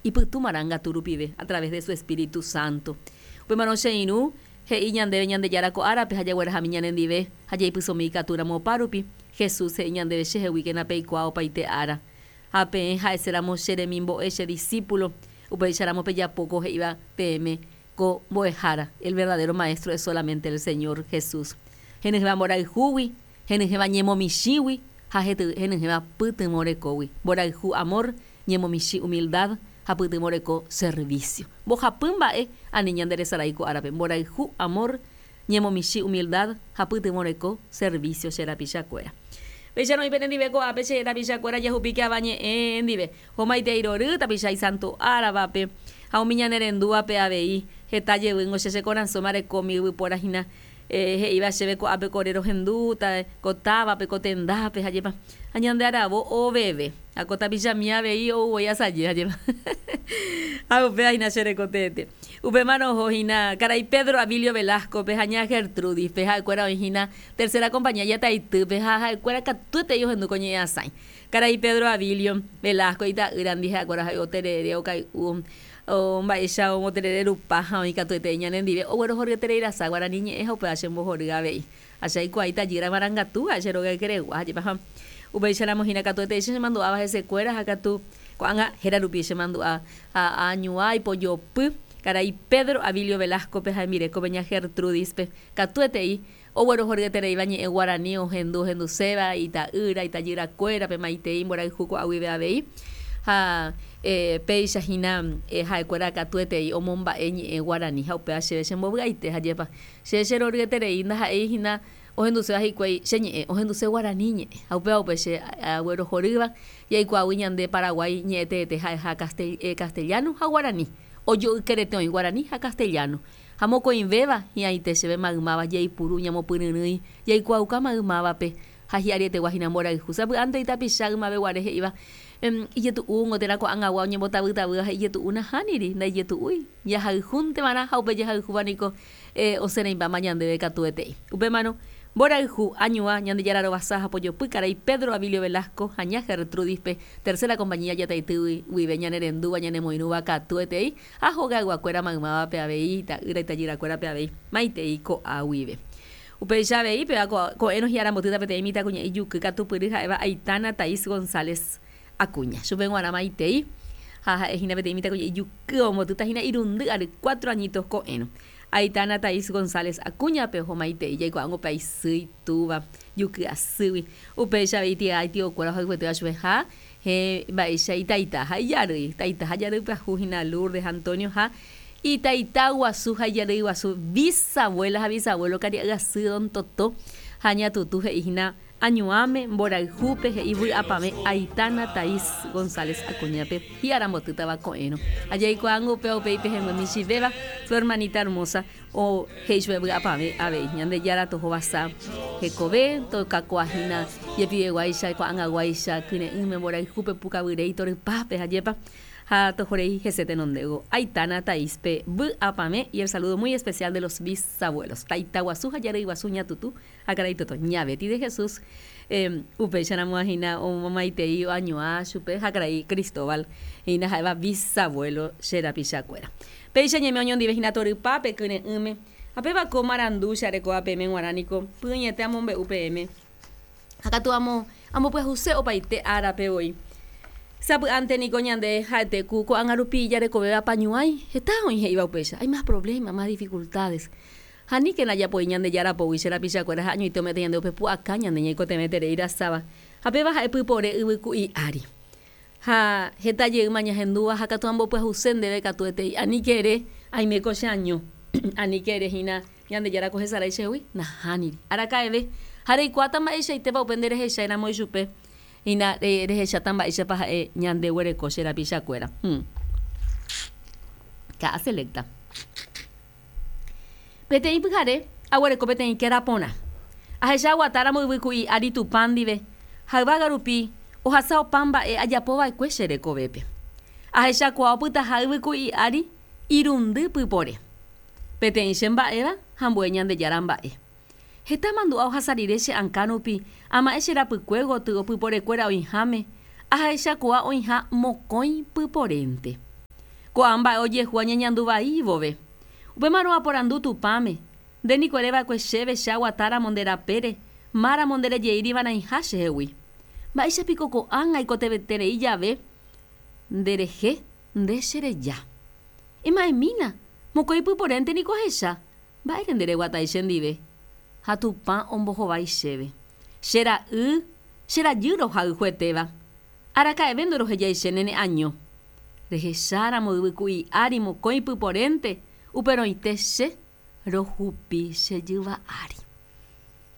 Ipytu marangatu rupive, a través de su Espíritu Santo. Upémarõ che irũ, he'i ñandéve Ñandejára ko árape ha jaguerahami ñanendive ha jaipysomi ikatúramo opárupi, Jesús he'i ñandéve cheheguíkena peikuaa opaite ára. Ha peẽ ha'eséramo che remimbo'e, che discípulo, upéicharamo pejapo ko he'íva peẽme ko mbo'ehára, el verdadero maestro es solamente el Señor Jesús. Henyhẽva mborayhúgui, henyhẽva ñemomichĩgui ha henyhẽva pytyvõ rekógui. Mborayhu, amor, ñemomichĩ, humildad, ha pytyvõ reko, servicio. Mbohapy mba'e ani ñanderesarái ko árape, mborayhu, amor, ñemomichĩ, humildad, ha pytyvõ reko, servicio, che rapichakuéra. Péicharõ oĩ penendive ko'ápe che rapichakuéra jahupíke ava ñe'ẽ ndive. Homaitei rory, tapicha isanto áravape, ha umi ñanerendúvape avei. Heta jevýngo che che korasõme arekómi yvypóra hína he'íva chéve ko'ápe ko ore rohendúta, ko távape, ko tendápe, ha jepa. Ha ñande aravo oveve. Ha ko tapichami avei ou voi asaje, ha jepa. Ha upéva hína che reko teete. Upémarõ oho hína karai Pedro Abilio Velasco-pe ha ña Gertrudis-pe, ha'ekuéra oĩ hína Tercera Compañía Jataitýpe ha ha'ekuéra katuetei ohendu ko ñe'ẽ asãi. Karai Pedro Abilio Velasco ita'ýrandi ha'ekuéra ha'e oterere, okay'u, mba'éicha omoterere rupa ha oĩ katuetei ñanendive oguerohoryeterei rasa guarani ñe'ẽ ha upéva chembohory avei. Ha che aikuaa itajýra marangatu ha'e che róga ykeregua ha jepa ha upéicharamo hína katuetei che chemandu'áva hesekuéra ha katu ko'ág̃a héra rupi chemandu'a ha añuã ipojopy karai Pedro Abilio Velasco-pe ha hembirekópe ña Gertrudis-pe katuetei Oguerohoryetereíva ñe'ẽ guarani ohendu ohenduséva ita'ýra, itajyrakuérape maitei mborayhu ko'a guive avei. Ha péicha hína ha'ekuéra katuetei omomba'e ñe'ẽ guarani ha upéva chéve chembovy'aite ha jepa che cheroryeterei ndaha'éi hína ohenduséva hikuái che ñe'ẽ, ohenduse guarani ñe'ẽ ha upéva upe che aguerohorýva jaikuaágui ñande Paraguái ñe'ẽ teete ha'eha castellano ha guarani, ojoykerete oĩ guarani ha castellano. Ha mokõivéva hi'ãite chéve maymáva jaipuru ñamopyryrỹi, jaikuaauka maymávape, ha hi'arietegua hína mborayhu. Sapy'ánte itapicha ymave guare he'íva, Ijetu'úngo térã ko'ag̃agua oñembotavytavýva ha ijetu'u nahániri, ndaijetu'úi. Jahayhúnte va'erã ha upe jahayhúva niko osẽreimbáma ñandéve katuetei. Upémarõ, mborayhu, añuã, Ñandejára rovasa ha pojopy karai Pedro Abilio Velasco ha ña Gertrudis-pe, Tercera Compañía Jataitýgui guive ñanerendúva ñanemoirũva katuetei, Ha hogayguakuéra maymávape avei, ita'ýra, itajyrakuérape avei, maitei ko'a guive. Upéicha avei, péva ko'ẽrõ hi'arambotýta peteĩ mitãkuña'i juky katupyry ha'éva Aitana Thais González Acuña. Chupe g̃uarã maitei, ha ha'e hína peteĩ mitãkuña'i juky ombotýta hína irundy ary, cuatro añitos ko'ẽrõ. Aitana Thais González Acuña-pe oho maitei, jaikuaángo pe aisy, itúva, juky asýgui. Upéicha avei tia itiokuéra ohayhuetéva chupe ha Héẽ, mba'éicha itaita ha ijarýi, taita ha jarýi pyahu hína Lourdes, Antonio ha itaita guasu ha ijarýi guasu, bisabuela ha bisabuelo karia'y asy don Toto ha ña Tutu he'i hína añuãme, mborayhúpe he'i vy'apavẽ Aitana Thais González Acuña-pe hi'arambotýtava ko'ẽrõ. Ha jaikuaángo upéva upe ipehẽngue michĩvéva, su hermanita hermosa, O he'i chupe vy'apavẽ avei, Ñandejára tohovasa hekove, tokakuaa hína jepiveguáicha, ko'ag̃aguáicha, kyre'ỹme, mborayhúpe, pukavyréi, torypápe, ajépa, ha tohorei hese tenondévo. Aitana Thaís-pe vy'apavẽ y el saludo muy especial de los bisabuelos. Taita guasu ha jarýi guasu ñatutu ha karai Toto. Ña Betty de Jesús upéicharamo hína omomaitei oañuã chupe ha karai Cristóbal hína ha'éva bisabuelo che rapichakuéra. Péicha ñaime oñondive hína torypápe kyre'ỹme, ha péva ko marandu che arekóva peẽme g̃uarã niko py'ỹiete amombe'u peẽme, ha katu amo ambopyahuse opaite árape voi. Sapy'ánte niko ñande ha'ete ku ko'ág̃a rupi jarekovéva apañuãi, heta oĩ he'íva upéicha, hay más problema, más dificultades. Ha aníkena japoi Ñandejára pógui che rapichakuéra ha añoite ome'ẽta ñande upe pu'aka ñande ñaikotevẽterei rasáva, ha péva ha'e pypore yvyku'i ári. Ha heta jeýma ñahendúva ha katu ambopyahuse ndéve katuetei, aníke ere, Aime ko che año, aníke ere hína, Ñandejára ko hesarái chehegui? Nahániri. Araka'eve. Ha reikuaáta mba'eichaitépa upe nde rehechái ramo ichupe, hína rehecháta mba'éichapa ha'e ñande guereko che rapichakuéra. Hum. Ka'a selecta. Peteĩ pyhare aguereko peteĩ kéra porã. Ahecha aguatáramo yvyku'i ári Tupã ndive ha yvága rupi ohasa opa mba'e ajapo va'ekue che rekovépe. Ahechakuaa opytaha yvyku'i ári irundy pypore. Peteĩ che mba'éva ha ambue Ñandejára mba'e. Heta mandu'a ohasa rire che akã rupi ama'ẽ che rapykue gotyo pyporekuéra oĩháme, ahechakuaa oĩha mokõi pyporénte. Ko'ã mba'e ojehu añeñandu vai vove. Upémarõ aporandu Tupãme, Nde niko ere va'ekue chéve che aguatáramo nde rapére, máramo nderejeíri va'erãiha chehegui. Mba'éicha piko ko'ág̃a aikotevẽterei jave nderehe nde chereja. Ema'ẽmína, mokõi pyporénte niko ahecha, mba'ére ndereguatái chendive. Ha Tupã ombohovái chéve, Che ra'y, che rajy rohayhuetéva, araka'eve ndorohejaichéne ne año. Rehecháramo yvyku'i ári mokõi pyporénte, uperõite che rohupi che jyva ári.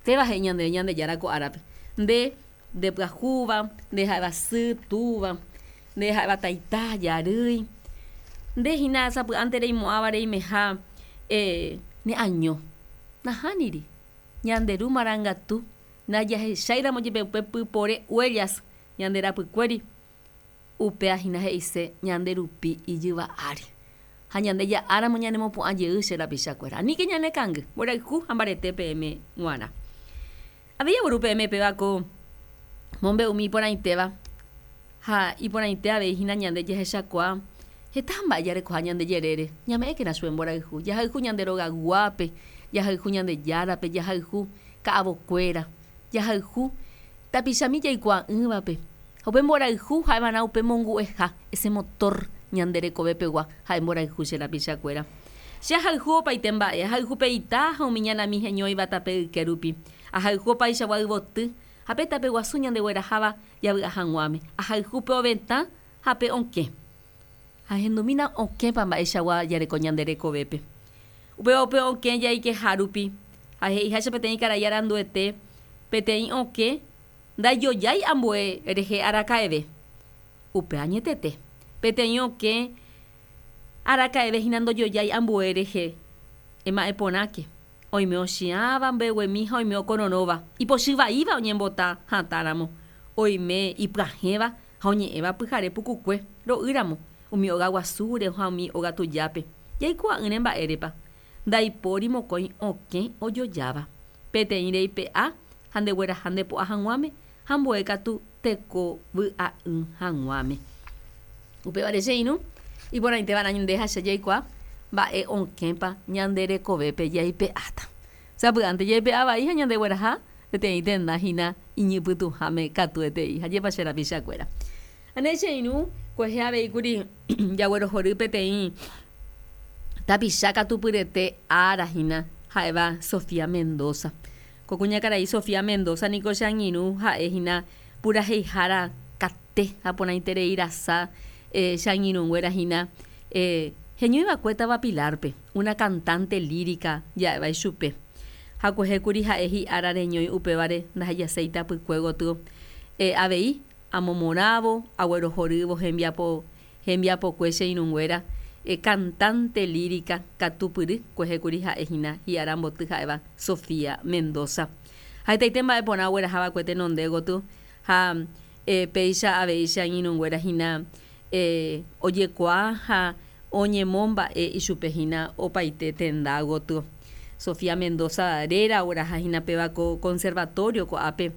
Péva he'i ñandéve Ñandejára ko árape, Nde, nde pyahúva, nde ha'éva sy, túva, nde ha'éva taita, jarýi, nde hína sapy'ánte reimo'ãva reimeha ne año. Nahániri, ñande Ru marangatu, ndajahecháiramo jepe upe pypore huellas ñande rapykuéri, Upéva hína he'ise ñande rupi ijyva ári. Ha ñande ja'áramo ñanemopu'ã jey che rapichakuéra. Aníke ñanekangy, mborayhu ha mbarete peẽme g̃uarã. Avei agueru peẽme péva ko mombe'umi iporãitéva ha iporãite avei hína ñande jahechakuaa heta mba'e jarekoha ñande jerére. Ñame'ẽkena chupe mborayhu. Jahayhu ñande rogayguápe, jahayhu Ñandejárape, jahayhu ka'avokuéra, jahayhu tapichami jaikuaa'ỹvape. Ha upe mborayhu ha'evarã upe mongu'eha, ese motor ñande rekove pegua, ha'e mborayhu che rapichakuéra. Che ahayhu opaite mba'e, ahayhu pe ita ha umi ñanami heñóiva tape yke rupi. Ahayhu opaichagua yvoty ha pe tape guasu ñandegueraháva javy'a hag̃uáme. Ahayhu pe ovetã ha pe okẽ. Ahendumína okẽpa mba'eichagua jareko ñande rekovépe. Upéva upe okẽ jaikeha rupi, ha he'iháicha peteĩ karai aranduete, peteĩ okẽ Ndaijojái ambue rehe araka'eve. Upe añetete, peteĩ okẽ araka'eve hína ndojojái ambue rehe. Ema'ẽ porãke, oime ochiãva mbeguemi ha oime okororõva, ipochy vaíva oñembota hatã ramo, oime ipyahẽva ha oñe'ẽva pyhare pukukue ro'y ramo, umi óga guasúre ha umi óga tujápe. Jaikuaa'ỹre mba'érepa. Ndaipóri mokõi okẽ ojojáva. Peteĩ reipe'a ha ndegueraha nde po'a hag̃uáme, ha ambue katu teko vy'a'ỹ hag̃uáme. Upévare che irũ, iporãite va'erã nde ha che jaikuaa mba'e okẽpa ñande rekovépe jaipe'áta. Sapy'ánte jaipe'a vai ha ñandegueraha peteĩ tenda hína iñypytũháme katuetei. Ha jepa che rapichakuéra. Ane che irũ, kuehe avei kuri jaguerohory peteĩ tapicha katupyrete ára hína ha'éva Sofía Mendoza. Ko kuñakarai Sofía Mendoza niko che angirũ ha'e hína puraheihára kate ha porãiterei rasa che angirũnguéra hína heñóiva'ekue táva Pilar-pe, una cantante lírica ja'éva ichupe. Ha kuehe kuri ha'e hi'ára reñói upévare ndahejaséi tapykue gotyo avei amomorãvo, aguerohorývo hembiapo hembiapokue che irũnguéra, cantante lírica katupyry kuehe kuri ha'e hína hi'aramboty ha'éva Sofía Mendoza. Ha hetaite mba'e porã ogueraha va'ekue tenonde gotyo ha péicha avei che angirũnguéra hína ojekuaa ha oñemomba'e ichupe hína opaite tenda gotyo. Sofía Mendoza réra ogueraha hína péva ko conservatorio ko'ápe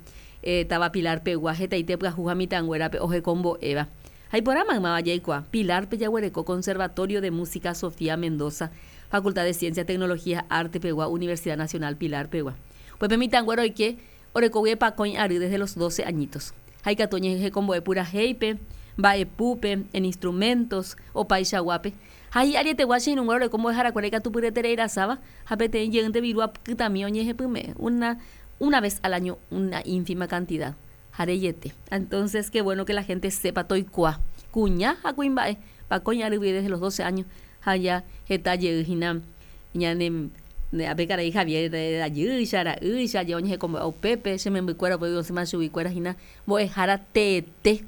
táva Pilar pegua hetaite pyahu ha mitãnguérape ohekombo'éva. Ha iporã maymáva jaikuaa, Pilar-pe jaguereko Conservatorio de Música Sofía Mendoza, Facultad de Ciencias, Tecnología ha Arte pegua Universidad Nacional Pilar pegua. Upépe mitãnguéra oike orekógui epakõi ary desde los doce añitos. Ha ikatu oñehekombo'e purahéipe, mba'epúpe, en instrumentos, opaichaguápe. Ha hi'arietegua che irũnguéra oreko mbo'eharakuéra ikatupyryeterei rasáva ha peteĩ jeýnte viru apytami oñehepyme'ẽ, una, una vez al año una ínfima cantidad. Ha reiete. Entonces, qué bueno que la gente sepa toikuaa kuña ha kuimba'e, pakõi ary guive desde los 12 años ha ja heta jey hína ñane ape karai Javier rajýicha, ra'ýicha, je oñehekombo'e upépe, che membykuéra upégui osẽma chuguikuéra hína mbo'ehára teete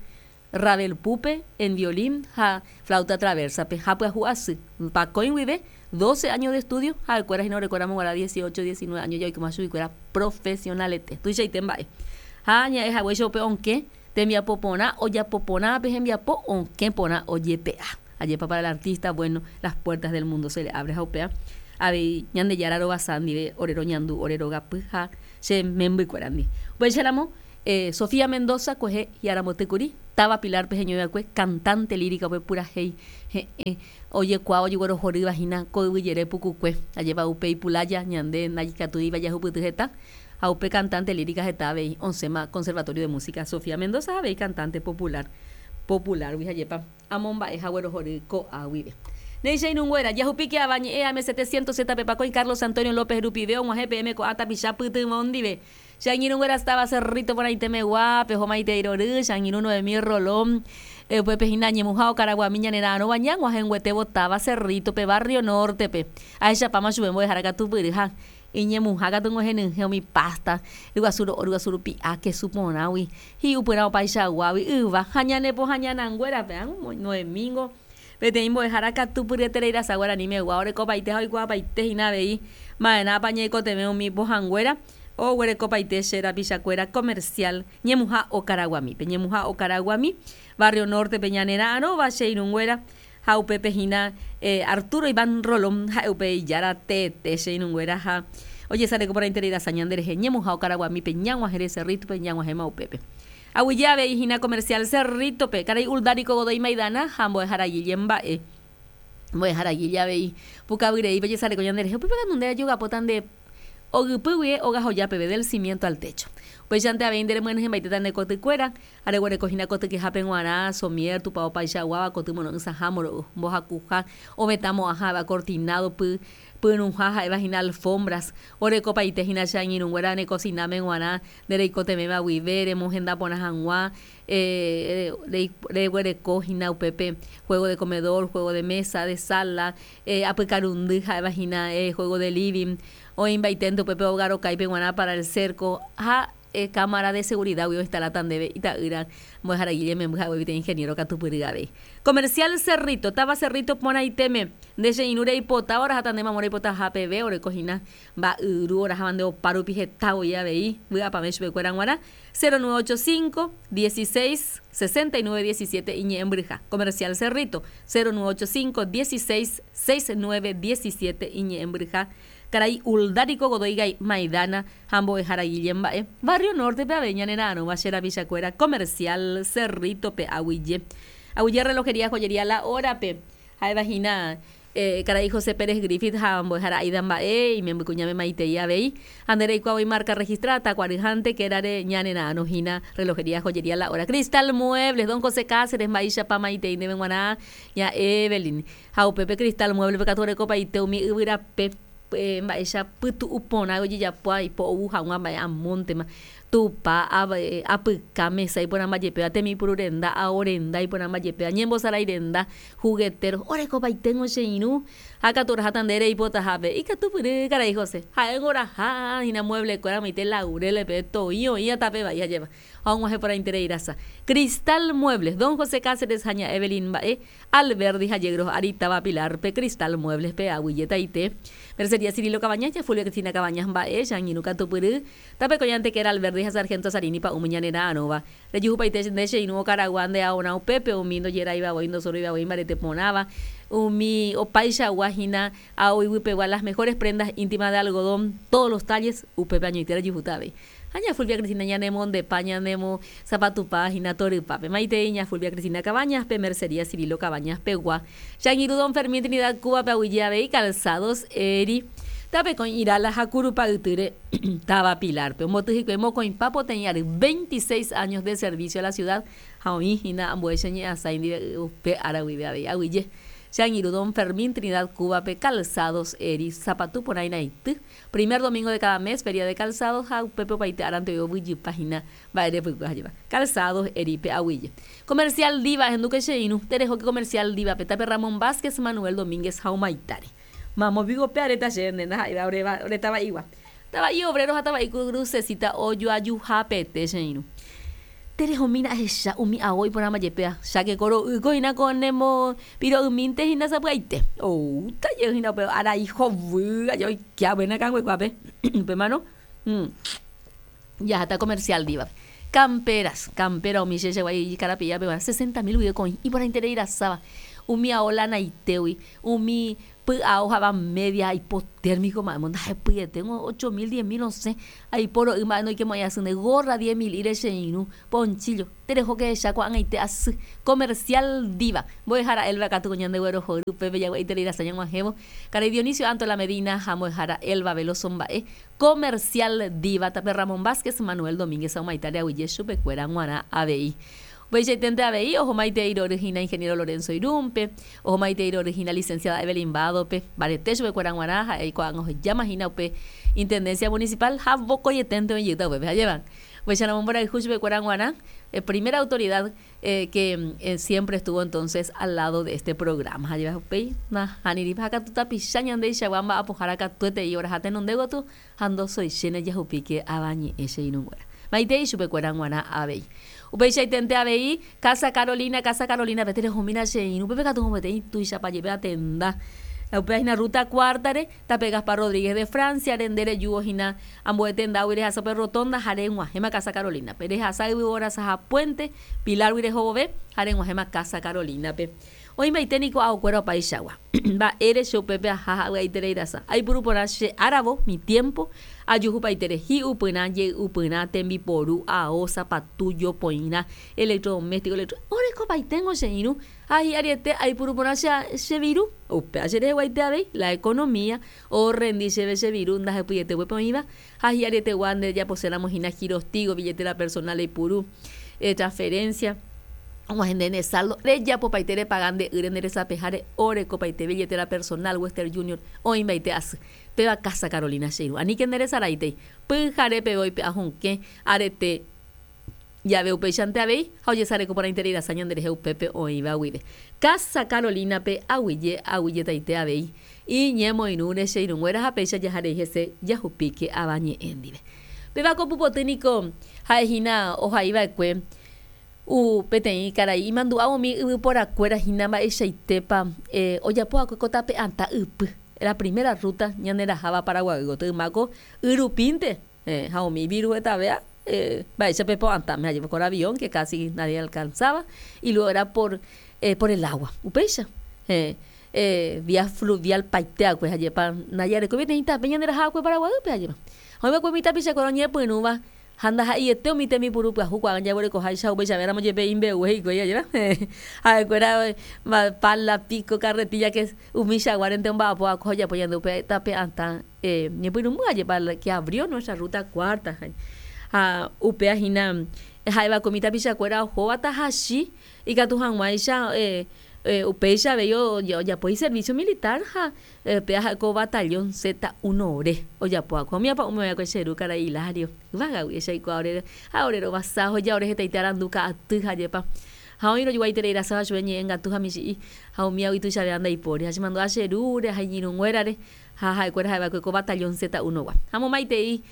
Ravel púpe en violín ha flauta traversa-pe ha pyahu asy, pakõi guive 12 años de estudio, ha'ekuéra hína orekóramo guarã 18, 19 años ja oikóma chuguikuéra profesionalete. Tuichaite mba'e. Ha ña'e haguéicha upe okẽ tembiapo porã ojapo porã pe hembiapo okẽ porã ojepe'a. Ajépa para el artista bueno las puertas del mundo se le abre ha upéva avei Ñandejára rovasa ndive ore roñandu ore rogapy ha che membykuéra ndive. Upéicharamo Sofía Mendoza kuehe hi'aramboty kuri. Táva Pilar-pe heñoiva'ekue, cantante lírica upe purahéi he'ẽ ojekuaáva ojeguerohorýva hína ko yvy jere pukukue. Ajépa upe ipulája ñande ndaikatúiva jahupyty heta ha upe cantante lírica heta avei osẽma Conservatorio de Música Sofía Mendoza ha avei cantante popular popular-gui ajépa amomba'e ha guerohory ko'a guive. Néi che irũnguéra, jahupíke ava ñe'ẽ AM 700 ZP Pakõi Carlos Antonio López rupive og̃uahẽ peẽme ko'ã tapicha pytyvõ ndive. Che angirũnguéra estaba Cerrito porãite megua, peho maitei rory, che angirũ Noemí Rolón, upépe hína añemuha okaraguami ñane ra'arõva ñag̃uahẽnguetévo táva Cerrito-pe, Barrio Norte-pe. Ahechapáma chupe mbo'ehára katupyry ha iñemuha katu g̃uehenyhẽ umi pasta, ryguasu ro'o, ryguasu rupi'a, kesu porãgui, hi'upyrã opaichaguágui, yva ha ñane pohãñananguérape. Ág̃a Noemí-ngo peteĩ mbo'ehára katupyryeterei rasa guarani megua orekopaite ha oikuaapaite hína avei ma'erãpa ñaikotevẽ umi pohãnguéra Oguerekopaite che rapichakuéra comercial ñemuha Okaraguamípe. Ñemuha Okaraguami, Barrio Norte-pe ñane ra'arõva che irũnguéra ha upépe hína Arturo Iván Rolón ha'e upe ijára teete che irũnguéra ha ojesareko porãiterei rasa ñande rehe ñemuha Okaraguamípe ñag̃uahẽre Cerrito-pe ñag̃uahẽma upépe. Aguyje avei hína comercial Cerrito-pe, karai Uldarico Godoy Maidana ha mbo'ehára Guille mba'e. Mbo'ehára Guille avei pukavyreípe ojesareko ñande rehe upépe katu nde ajogapóta nde Ogypy guie óga hoja peve del cimiento al techo. Upéichante avei nde remyenyhẽmbaitéta nde kotykuéra, ha reguereko hína kotykehápe g̃uarã, somier, tupao paichaguáva, koty moro'ỹsãha, moro'y mbohakuha, ovetã mo'ãha ha'éva cortinado, py, pyrũha ha'éva hína alfombras, orekopaite hína che angirũnguéra ne kosináme g̃uarã, nde reikotevẽva guive, remohenda porã hag̃ua, reguereko hína upépe juego de comedor, juego de mesa, de sala, apykarundy ha'éva hína juego de living, oĩmbaiténte upépe óga rokáipe g̃uarã para el cerco ha cámara de seguridad-gui oinstaláta ndéve ita'ýra mbo'ehára Guille memby ha'égui peteĩ ingeniero katupyry avei. Comercial Cerrito, táva Cerrito porãitéme, nde che irũ reipotáva oraháta nde mamo reipotaha peve oreko hína mba'yru oraháva nde opa rupi heta voi avei vy'apavẽ chupekuéra g̃uarã 0985 16 69 17 iñe'ẽmbyryha. Comercial Cerrito, 0985 16 69 17 iñe'ẽmbyryha. Karai Uldarico Godoy Gay Maidana ha mbo'ehára Guille mba'e. Barrio Norte-pe avei ñanera'arõva che rapichakuéra Comercial Cerrito-pe aguyje. Aguyje Relojería Joyería La Hora-pe ha'éva hína Karai José Pérez Griffith ha mbo'ehára Aida mba'e, imembykuñáme maitei avei. Ha nde reikuaa voi marca registrada takuaryhánte kérare ñanera'arõ hína relojería joyería La Hora. Cristal Muebles, don José Cáceres mba'éichapa maitei ndéve g̃uarã ña Evelyn. Ha upépe Cristal Muebles-pe katu orekopaite umi yvyrape mba'éicha pytu'u porã ojejapóva ipo ou hag̃ua mba'e amóntema. Tupa, apyka, mesa iporãmba jepéva, temipuru renda, ao renda iporãmba jepéva, ñembosarái renda, juguetero, orekopaiténgo che irũ, ha katu oraháta nde reipotahápe. Ikatupyry, karai José. Ha'éngo oraha hína mueble-kuéra omoite laurel-pe, toĩ oĩva tape vai ajépa. Ha og̃uahẽ porãiterei rasa. Cristal Muebles, don José Cáceres ha ña Evelyn mba'e, Alberdi ha Yegros ári táva Pilar-pe, Cristal Muebles-pe, aguyjetaite. Mercería Cirilo Cabañas, ña Fulvia Cristina Cabañas mba'e, che angirũ katupyry, Tape ko'ñante kéra Alberdi ha Sargento Sarini pa'ũme ñane ra'arõva. Rejuhupaite nde che irũ okaragua nde aorã upépe, umi ndojeráiva voi, ndosoroiva voi mbarete porãva, umi opaichagua hína ao iguipegua las mejores prendas íntimas de algodón, todos los talles, upépe añoite rejuhúta avei. Ha ña Fulvia Cristina ñanemondepa, ñanemo zapatupa hína torypápe. Maitei ña Fulvia Cristina Cabañas pe Mercería Cirilo Cabañas pegua. Che angirũ don Fermín Trinidad Cuba pe aguyje avei Calzados Eri. Tapekõi Irala ha Kurupa ytýre táva Pilar-pe. Omboty hikuái mokõipa poteĩ ary, veintiséis años de servicio a la ciudad, ha oĩ hína ambue che ñe'ãsãi ndive upe ára guive avei. Aguyje. Che angirũ don Fermín Trinidad Cuba-pe Calzados Eri, sapatu porã iraity. Primer domingo de cada mes, feria de calzados ha upépe opaite árante oĩ ovyjypa hína mba'e repykue ha jeva. Calzados Eri pe aguyje. Comercial Diva, ehendúke che irũ, terehóke Comercial Diva-pe, tape Ramón Vázquez, Manuel Domínguez ha Humaitare. Mamo piko pe aréta che nde ndaha'éiva ore ore tava'igua. Tava'i obrero ha tava'i crucecita ojoajuhapete che irũ. Terehomína ahecha umi ao iporãmba jepéva, cháke ko ro'ýko hína ko nemo piro'ymínte hína sapy'aite. Oúta jey hína upe arai hovy aja oike hague ne akãnguekuápe. Upémarõ jaháta comercial Diva-pe. Camperas, campera umi che chegua ikarapi'ápe guarã, sesenta mil guive ko oĩ iporãiterei rasáva. Umi ao lanaitégui, umi py'ao ha'éva media hipotérmico mba'émo ndahepyeténgo ocho mil, diez mil osẽ aipo ro'y mba'e ndoikemo'ãi asy nde gorra diez mil'íre che irũ, ponchillo, terehóke ehecha ko'ag̃aite asy Comercial Diva, mbo'ehára Elba katu ko ñandeguerohory upépe jagua'iterei rasa ñag̃uahẽvo, karai Dionisio Antola Medina ha mbo'ehára Elba Veloso mba'e Comercial Diva, tape Ramón Vázquez, Manuel Domínguez ha omaitare aguyje chupekuéra g̃uarã avei. Upeichaitente avei, oho maitei rory hína Ingeniero Lorenzo Irún-pe, oho maitei rory hína Licenciada Evelyn Bado-pe, mbarete chupekuéra g̃uarã, ha'e ko'ág̃a ohejáma hína upe Intendencia Municipal ha vokoieténte oĩjeýta upépe. Ajépa? Upéicharamo mborayhu chupekuéra g̃uarã, primera autoridad que siempre estuvo entonces al lado de este programa. Ha jeva upéi nahániri. Ha katu tapicha ñandeichagua mba'apohára katuetei oraha tenonde gotyo ha ndosoichéne jahupíke avañe'ẽ che irũnguéra. Maitei chupekuéra g̃uarã avei. Upeichaitente avei Casa Carolina, Casa Carolina-pe terehomína che irũ, upépe katu peteĩ tuichapa jepe atenda. Upéva hína Ruta Cuarta-re, tape Gaspar Rodríguez de Francia-re, nde rejúvo hína ambue tendágui rehasa upe rotonda ha reg̃uahẽma Casa Carolina-pe. Rehasa yvyvorasaha puente, Pilar-gui reho vove ha reg̃uahẽma Casa Carolina-pe. Oĩmbaite niko aokuéra opaichagua. Mba'ére che upépe aha ha avy'aiterei rasa. Aipuru porã che áravo, mi tiempo, ajuhupaitére hi'upyrã, jey'upyrã, tembiporu, ao, sapatu, jopoirã, electrodoméstico, electro. Orekopaitengo che irũ ha hi'ariete aipuru porã che, che viru. Upéva che reheguaite avei, la economía, orrendi chéve che viru ndahepyiete upépe oĩva ha hi'arietegua nde rejaposéramo hína girostigo, billetera personal eipuru, transferencia, og̃uahẽ nde ne saldo, rejapopaite repaga nde ýre nde resapeháre orekopaite billetera personal Western Junior oĩmbaite asy. Péva Casa Carolina che irũ. Aníke nde resaráitei. Pyhare peve oipe'a hokẽ arete jave upéichante avei ha ojesareko porãiterei rasa ñanderehe upépe oĩva guive. Casa Carolina-pe aguyje aguyjetaite avei iñemoirũre che irũnguéra ha péicha jaha rei hese jahupíke ava ñe'ẽ ndive. Péva ko pupoty niko ha'e hína ohai va'ekue u peteĩ karai imandu'a umi yvyporakuéra hína mba'eichaitépa ojapo va'ekue ko tape atã ypy, la primera ruta ñane raháva Paraguay gotyo yma ko y rupínte ha umi viru hetavea mba'éicha pe po'atãme ha jepe con avión que casi nadie alcanzaba y luego era por por el agua upéicha vía fluvial paite va'ekue ha jepa ndajarekói peteĩ tape ñande raha va'ekue Paraguaýpe ajépa. Ha oĩ va'ekue umi tapichakuéra oñepyrũva ha ndaha'eiete umi tembipuru pyahu ko'ág̃a jaguerekoháicha upeichavéramo jepe imbegue hikuái ajépa ha'ekuéra pala, pico, carretilla que umichaguárente omba'apo va'ekue ha ojapo ñande upe tape atã ñepyrũmby ajépa que abrió nuestra ruta cuarta ha upéva hína ha'eva'ekue umi tapichakuéra ohóva tahachi ikatu hag̃uáicha Upéicha avei ojapo iservísio militar ha péva ha'e ko batallón Z1-re ojapo va'ekue. Umi apa'ũme oĩva'ekue che ru karai Hilario, yvágagui echaikuaa ore ha ore rovasa oheja ore hetaite arandu ka'aty ha jepa. Ha oĩ rojuaiterei rasáva chupe ñe'ẽngatu ha michi'i ha umíagui tuichavéva ndaipóri. Ha chemandu'a che rúre ha iñirũnguérare ha ha'ekuéra ha'eva'ekue ko batallón Z1-gua. Ha momaitei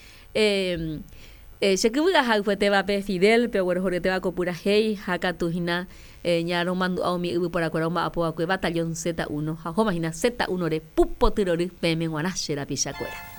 Che kyvy ahayhuetévape Fidel-pe oguerohoryetéva ko purahéi ha katu hína ñaromandu'a umi yvyporakuéra omba'apo va'ekue Batallón Z1 ha ohóma hína Z1-re pupotyrory peẽme g̃uarã che rapichakuéra.